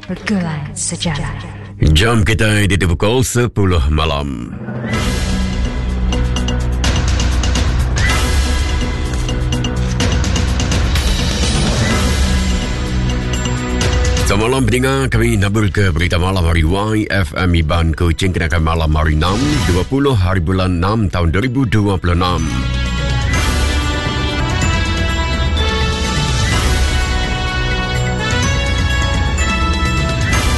Begulai Sejalai. Jam kita di pukul 10 malam. Selamat malam pendengar, kami nabur ke berita malam hari YFM Iban Kuching kenakan malam hari 6, 20 hari bulan 6 tahun 2026.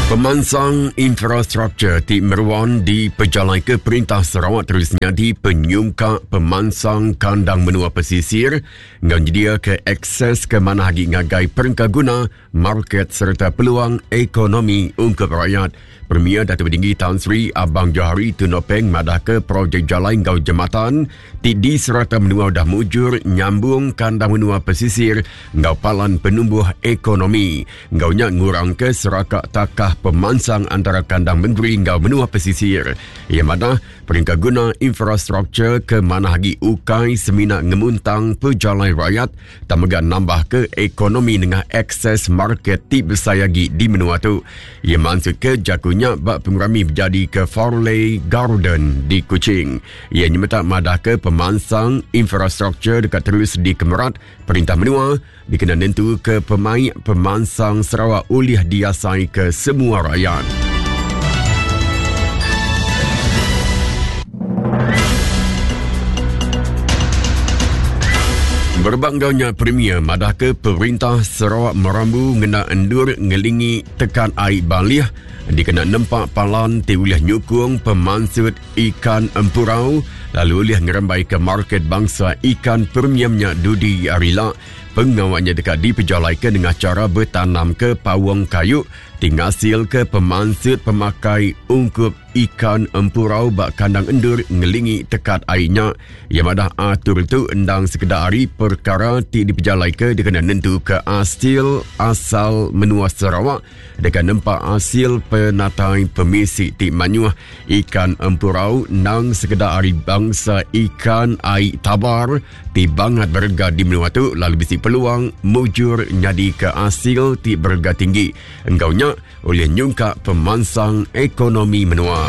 Pemansang infrastruktur ti meruan dipejalai ke Perintah Sarawak terus nyadi penyungkak pemansang kandang menua pesisir enggau nyediaka akses ke manah agi ngagai perengkaguna, market sereta peluang ekonomi ungkup rakyat. Premier Datuk Patinggi Tan Sri Abang Johari Tun Openg madahka projek jalai enggau jematan ti di serata menua udah mujur nyambung kandang menua pesisir enggau palan penumbuh ekonomi. Enggau nya ngurangka seraka takah pemansang antara kandang mengeri enggau menua pesisir. Iya madah, perengka guna infrastruktur ke manah agi ukai semina ngemuntang pejalai rayat tang mega nambahka ekonomi nengah akses market ti besai agi di menua tu. Iya mansutka jaku nya ba pengerami bejadika Farley Garden di Kuching. Iya nyemetak madahka pemansang infrastruktur deka terus dikemerat perintah menua dikena nentuka pemaik pemansang Sarawak ulih diasaika semua rayat. Berebak enggau nya, Premier madahka Perintah Sarawak merambu ngena endur ngelingi tekat ai Balih dikena nempa palan ti ulih nyukung pemansut ikan empurau lalu ulih ngerembaika market bangsa ikan premium nya dudi hari ila. Pengawa nya deka dipejalaika nengah chara betanamka paung kayu ti ngasilka pemansut pemakai ungkup ikan empurau ba kandang endur ngelingi tekat ai nya. Iya madah atur tu endang sekeda ari perkara ti dipejalaika dikena nentuka asil asal menua Sarawak deka nempa asil penatai pemisi ti mayuh. Ikan empurau endang sekeda ari bangsa ikan ai tabar ti bangat berega di menua tu lalu bisi peluang mujur nyadika asil ti berega tinggi. Enggau nya, ulih nyungkak pemansang ekonomi menua.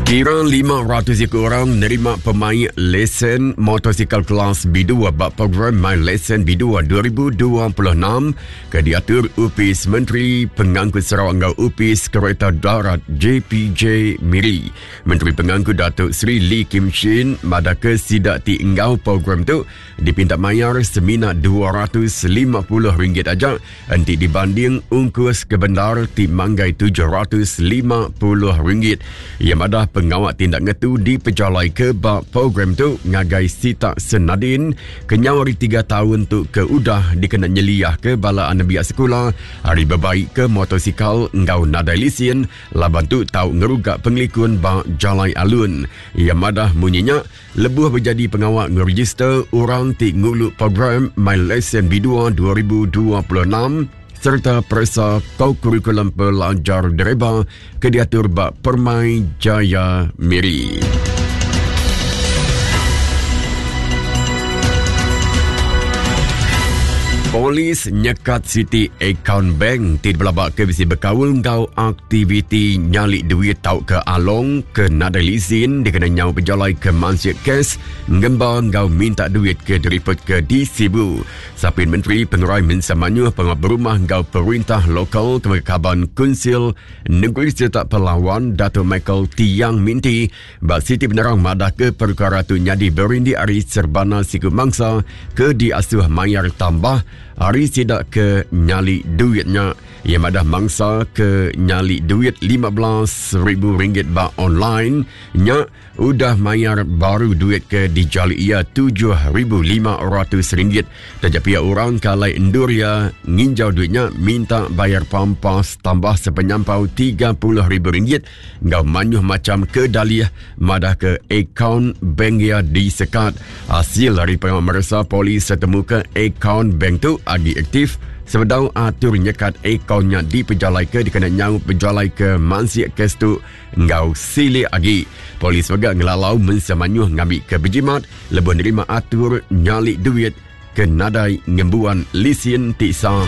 Kira 500 iku orang nerima pemai lesen motosikal kelas B2 ba program My Lesen B2 2026 ke diatur Opis Menteri Pengangkut Sarawak enggau Opis Kereta Darat JPJ Miri. Menteri Pengangkut Datuk Seri Lee Kim Shin madahka sida ti enggau program tu dipinta mayar semina RM250 aja enti dibanding ungkus ke bendar ti manggai RM750. Iya madah pengawa ti enda ngetu dipejalaika ba program tu ngagai sitak Senadin kenyau ari tiga taun tu ke udah dikena nyeliahka bala anembiak sekula ari bebaika motosikal enggau nadai lisin laban tu tau ngeruga pengelikun ba jalai alun. Iya madah munyi nya lebuh bejadi pengawa ngerejister orang ti ngulu program My Lesen B2 2026 sereta peresa kokurikulum pelajar dereba ke diatur ba Permai Jaya Miri. Polis nyekat siti akaun bank ti dipelabaka bisi bekaul enggau aktiviti nyali duit tauka along ke nadai lisin dikena nyau bejalai ke mansik kes ngemba enggau minta duit ke diripotka di Sibu. Sapin Menteri Pengerai Mensia Mayuh Pengawa Berumah enggau Perintah Lokal ke mega Kaban Kunsil Negeri Serta Pelawan Dato Michael Tiang Minti Ba siti penerang madahka perkara tu nyadi berindik ari serbana siku mangsa ke diasuh mayar tambah ari sida ke nyali duit nya. Iya madah mangsa ke nyali duit RM15,000 ba online nya udah mayar baru duit ke dijali iya RM7,500. Taja pia orang ke alai endur iya nginjau duit nya minta bayar pampas tambah sepenyampau RM30,000 enggau mayuh macham ke dalih madahka akaun bank iya disekat. Asil ari pengawa meresa polis tetemuka akaun bank tu agi aktif. sebedau atur nyekat akaun nya dipejalaika dikena nyaup bejalaika mansik kes tu enggau silik agi. Polis mega ngelalau mensia mayuh ngambika bejimat lebuh nerima atur nyali duit ke nadai ngembuan lisin ti sah.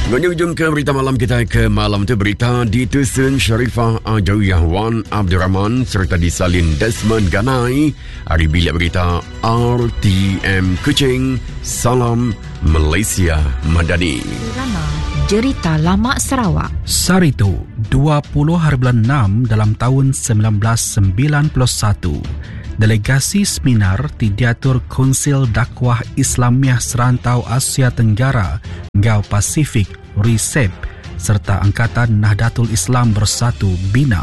Menyujung ke berita malam kita ke malam tu berita ditusun Sharifah Ajawiyah Wan Abdul Rahman serta disalin Desmond Ganai hari bilik berita RTM Kuching. Salam Malaysia Madani. Drama Jerita Lama Sarawak. Sehari tu, 20 hari bulan 6 dalam taun 1991, delegasi seminar ti diatur Kunsil Dakwah Islamiah Serantau Asia Tenggara enggau Pasifik, RISEP, sereta Angkatan Nahdlatul Islam Bersatu, bina,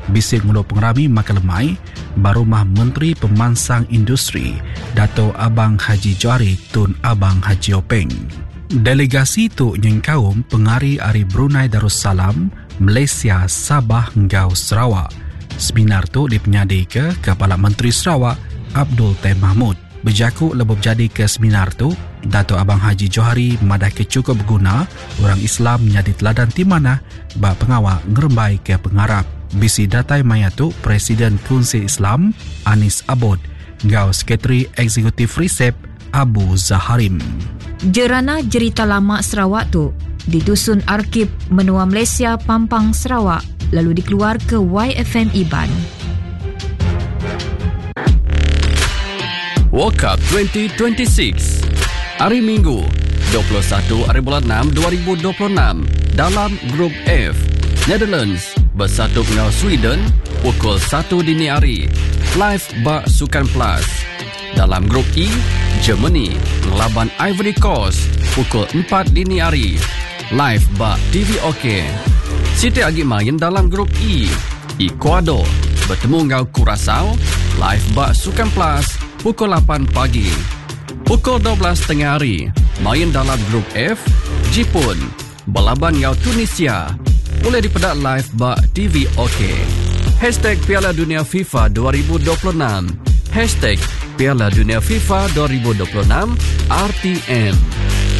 bisi ngulu pengerami makai lemai ba rumah Menteri Pemansang Industri, Dato Abang Haji Johari Tun Abang Haji Openg. Delegasi tu nyengkaum pengari ari Brunei Darussalam, Malaysia, Sabah enggau Sarawak. Seminar tu dipenyadika Kepala Menteri Sarawak, Abdul Taib Mahmud. Bejaku lebuh bejadika seminar tu, Dato Abang Haji Johari madahka chukup beguna orang Islam nyadi teladan ti manah ba pengawa ngerembaika pengarap. Bisi datai maya tu Presiden Kunsil Islam, Anis Abod enggau Sekretari Eksekutif RISEP, Abu Zaharim. Jerana Jerita Lama Sarawak tu ditusun Arkib Menua Malaysia Pampang Sarawak lalu dikeluarka YFM Iban. World Cup 2026 Hari Minggu 21 hari bulan 6 2026 dalam Grup F Netherlands bersatu enggau Sweden pukul 1 dini hari live ba Sukan Plus. Dalam Grup E, Germany ngelaban Ivory Coast pukul 4 dini hari live ba TV OK. Siti agi main dalam Grup E, Ecuador betemu enggau Curacao live ba Sukan Plus pukul 8 pagi. Pukul 12 tengah hari, main dalam Grup F, Jipun belaban enggau Tunisia ulih dipeda live ba TV OK. Hashtag Piala Dunia FIFA 2026 Hashtag Piala Dunia FIFA 2026 RTM.